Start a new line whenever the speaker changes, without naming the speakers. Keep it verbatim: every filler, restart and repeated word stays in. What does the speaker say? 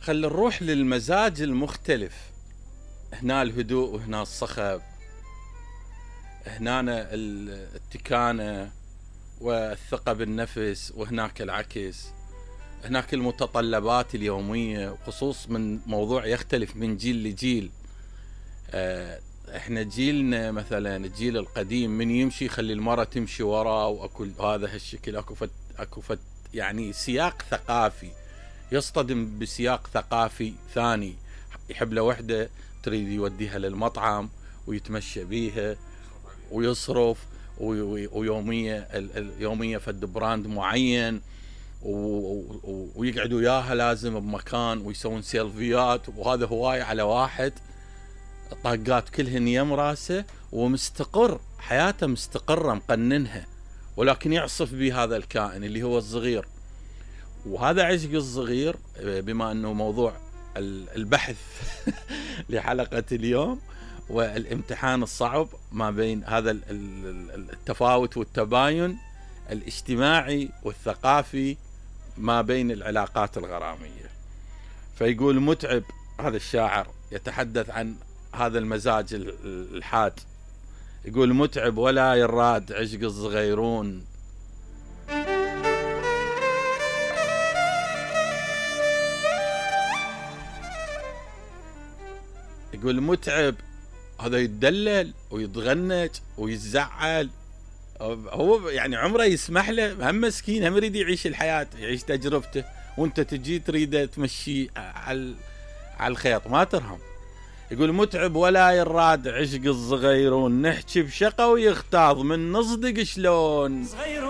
خل نروح للمزاج المختلف. هنا الهدوء وهنا الصخب، هنا التكانة والثقة بالنفس، وهناك العكس. هناك المتطلبات اليومية، خصوص من موضوع يختلف من جيل لجيل. احنا جيلنا مثلا الجيل القديم من يمشي يخلي المرأة تمشي وراه، واكو هذا هالشكل، اكو فت اكو فت يعني سياق ثقافي، يصطدم بسياق ثقافي ثاني. يحب له وحده تريد يوديها للمطعم ويتمشى بيها ويصرف، ويومية اليومية فد براند معين، ويقعد وياها لازم بمكان ويسوون سيلفيات، وهذا هواية على واحد طاقات كلهن يم راسه ومستقر، حياته مستقرة مقننها، ولكن يعصف به هذا الكائن اللي هو الصغير. وهذا عشق الصغير، بما أنه موضوع البحث لحلقة اليوم، والامتحان الصعب ما بين هذا التفاوت والتباين الاجتماعي والثقافي ما بين العلاقات الغرامية. فيقول متعب، هذا الشاعر يتحدث عن هذا المزاج الحاد، يقول متعب ولا يراد عشق الصغيرون، يقول متعب هذا يتدلل ويتغنج ويتزعل، هو يعني عمره يسمح له، هم مسكين، هم يريد يعيش الحياة، يعيش تجربته، وانت تجي تريده تمشي على على الخيط، ما ترهم. يقول متعب ولا يراد عشق الصغيرون، نحكي بشقة ويختاض من نصدق شلون